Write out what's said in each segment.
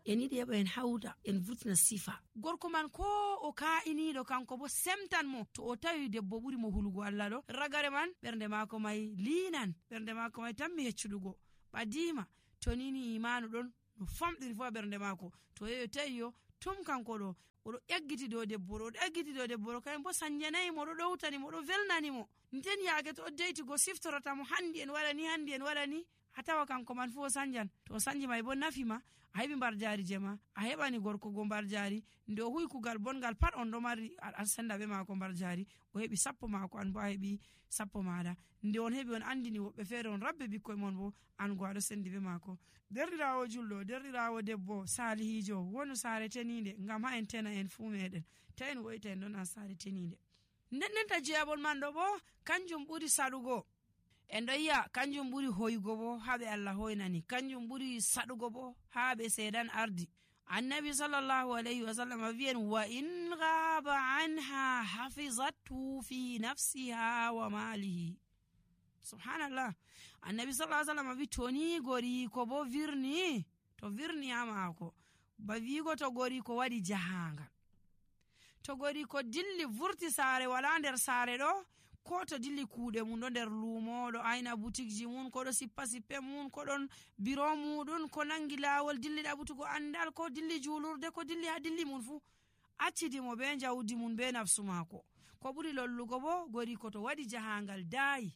en yiɗi heɓa en hawta en vurtina sifa. Gorko man ko o ka'iniɗo kanko bo semtan mo to o tawi debbo ɓuri mo hulugo Allah ɗo, ragare man ɓernde maako may liinan, ɓernde maako may tammi heccuɗugo ɓadima. To nini imanu ɗon no famɗiri fu a ɓernde maako, to yeyo tawi yo tum kanko ɗo oɗo ƴaggiti dow debbo ɗo, oɗo ƴaggiti dow debbo ɗo, kayen bo sanjanayimo, oɗo ɗowtanimo, oɗo velnanimo. Nden yaake to o deytigo siftorotamo handi en waɗa ni a tawa kanko man fu o sanjan. To o sanji may bo nafima, a heɓi mbar jari je ma, a heɓani gorko go mbar jari, nde o huwi kugal bongal pat on ɗo mari a senda ɓe maako mbar jari, o heɓi sappo maako, an bo a heɓi sappo maɗa. Nde on heɓi on andini woɓɓe feere on rabbe bikkoye mon bo an go aɗo sendi ɓe maako. Derɗirawo julɗo, derɗirawo debbo salihijo wonu saare teninde, ngam ha en tena en fu meɗen ta en woyta en ɗon an saare teninde. Nden ta jeyabol man ɗo bo kanjum ɓuri saɗugo. En ɗo yi'a kanjum ɓuri hoygo bo haɓe Allah hoynani, kanjum ɓuri saɗugo bo haɓe seedan ardi. Annabi sallallahu alayhi wa sallam wi'en wa in ghaba anha hafizatu fi nafsiha wa malihi. Subhanallah. Annabi sallallahu alayhi wa sallam wi toni gori ko bo virni, to virni ha maako ba wigo to gori ko waɗi jahangal, to gori ko dilli vurti saare wala nder saare ɗo, ko to dilli kuuɗe mum ɗo nder luumo, ɗo ayna butikji mum, ko ɗo sippa sippe mum, ko ɗon biro muɗum, ko nangi laawol dilli ɗaɓutugo andal, ko dilli juulurde, ko dilli ha dilli mum fu accitimo be jawdi mum be nafsu maako. Ko ɓuri lollugo bo gori ko to waɗi jahangal daayi,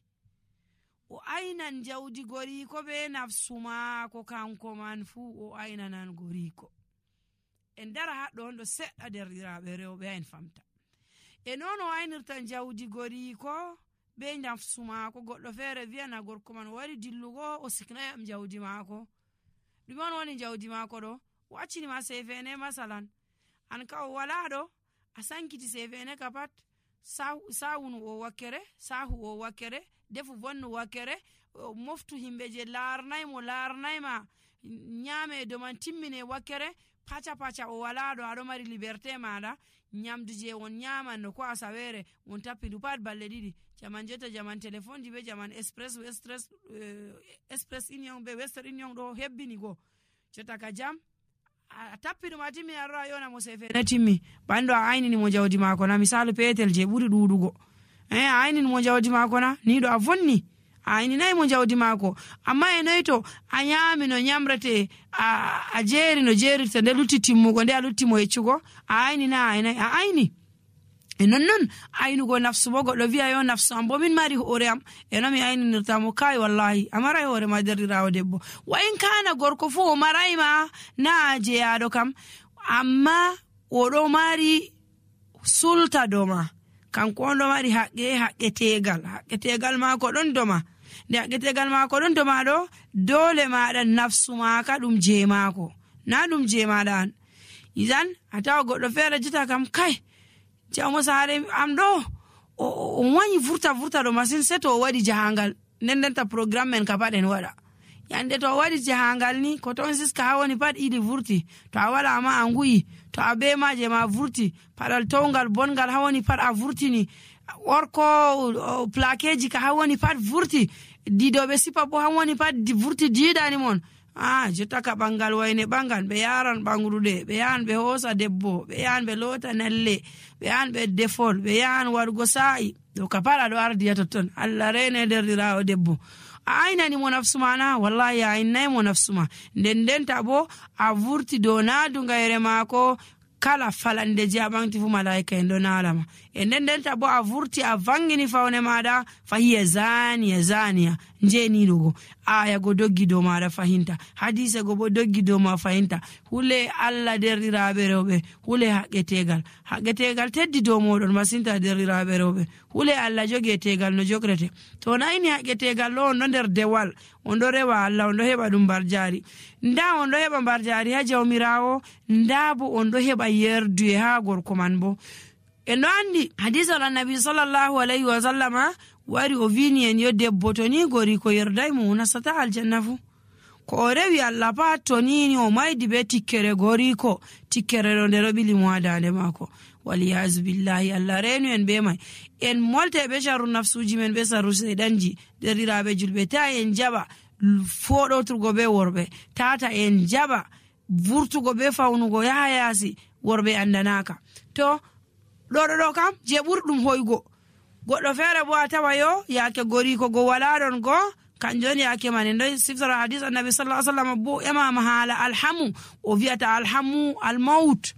o aynan jawdi gori ko be nafsu maako, kanko man fu o aynanan gori ko. En dara haɗɗo on ɗo seɗɗa derɗiraɓe rewɓe en famta. E noon o aynirta jawdi gori ko be nafsu maako. Goɗɗo feere wiyana gorko man o wari dillugo o siknayam jawdi maako. Ɗume on woni jawdi maako ɗo? O accinima sefene masalan, an ka o wala ɗo, a sankiti sefene ka pat, sawunu o wakkere, sahu o wakkere, defu bonnu wakkere, moftu himɓe je larnayma nyame do man timmine wakkere, paca o wala ɗo, aɗo mari liberté maɗa, nyamdu je on nyamanno ko asawere on tappidu pat balle ɗiɗi. Jaman jetta jaman téléphone ji be jaman express union be western union ɗo hebbini go. Jotta ka jam a tappiɗum a timmi aɗo a yona mo sefene timmi, ɓanɗo a aynini mo jawdi maako na, misalu petel je ɓuri ɗuɗugo, a aynini mo jawdi maako na, ni ɗo a vonni a ayninayi mo jawdi maako. Amma e noyi to a nyami no nyamrete, a jeeri no jeerirta, nde lutti timmugo nde a lutti mo yeccugo, a aynina a ayni. E nonnon aynugo nafsu bo, goɗɗo wi'a yo nafsu am bo min mari hoore am, e no mi ayninirta mo, kai wallahi a maray hoore ma derɗirawo debbo. Wa in kana gorko fu o marayma na jeyaɗo kam, amma oɗo mari sulta doma, kanko on ɗo mari haqqetegal maako ɗon doma. Nde haqqetegal maako ɗon doma ɗo, dole maɗa nafsu maaka ɗum je maako, na ɗum je maɗa an. Izan a tawa goɗɗo feere jita kam kai jawmo saare am ɗo o wañi vurta ɗo masin, se to o waɗi jahangal. Ndendenta programme men ka pat en waɗa, yande to o waɗi jahangal ni ko ton siska ha woni pat iɗi vurti, to a wala ma a nguyi, to a be maje ma vurti, paɗal towgal bongal ha woni pat a vurtini, orko plakeji ka ha woni pat vurti, didoɓe sipa bo ha woni pat vurti diidani mon. Jotta ka ɓangal wayne ɓangal, ɓe yaran ɓangruɗe, ɓe yahan ɓe hoosa debbo, ɓe yahan ɓe loota nalle, ɓe yahan ɓe defol, ɓe yahan waɗugo sa'i, ɗo ka pat aɗo ardiya totton. Allah rene derɗirawo debbo, a aynani mo nafsu ma na, wallahi a aynnayi mo nafsu ma. Ndendenta bo a vurti dow naadungayre maako, kala falande je a ɓanti fu malaika en ɗo naalama. E ndendenta bo a vurti a vangini fawne maɗa, fahiya zaniya njeniɗugo, aya go doggi dow maɗa fahinta, hadise go bo doggi dow ma fahinta. Hule Allah derɗiraɓe rewɓe, hule haqqetegal teddi dow moɗon masinta derɗiraɓe rewɓe. Hule Allah jogi tegal no jogrete, to nayni haqqetegal ɗo on ɗo nder dewal, on ɗo rewa Allah, on ɗo heɓa ɗum mbar jari. Nda on ɗo heɓa mbar jari ha jawmirawo, nda bo on ɗo heɓa yerduye ha gorko man bo. En ɗo andi hadisal annabi sallallahu alayhi wa sallama wari o vini en yo debbo to ni gori ko yerdai mo nasata aljanna fu. Ko o rewi Allah pat to ni o maydi be tikkere gori ko, tikkere ɗo nde ɗo ɓili mo ha dande maako. Waliyazu billahi, Allah renu en be mai. En molte be sharru nafsuji men be sharru sedanji. Derɗiraɓe julɓe, ta en jaba foɗoturgo be worɓe, tata en jaba vurtugo be fawnugo yaha yaasi worɓe andanaka. to ɗo kam je ɓuri ɗum hoygo. goɗɗo feere bo a tawa yo yaake goriko go wala ɗon go kanjon yaake man en ɗon siftara hadis annabi sallallahu alaihi wasallam bo emama haala alhamu o wi'ata alhamu almaut